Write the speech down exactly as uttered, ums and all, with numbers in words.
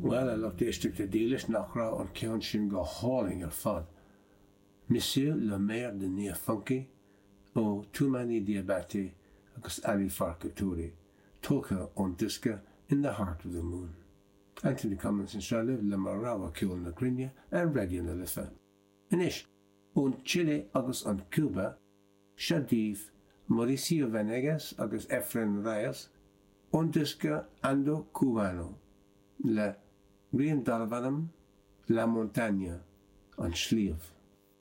Bhuel, a lucht éisteachta dílis, nach raibh an ceann sin go hálainn ar fad? Monsieur le Maire de Niafunké ó Toumani Diabaté agus Ali Farka Touré, tógtha ón diosca In the Heart of the Moon. Anthony Cummins anseo libh le mo rogha ceol na cruinne ar Raidió na Life. Anois, ón Chile agus an Cuba, seo daoibh Mauricio Vanegas agus Efren Reyes ón diosca Ando Cubano le rian darbh ainm La Montaña, an sliabh.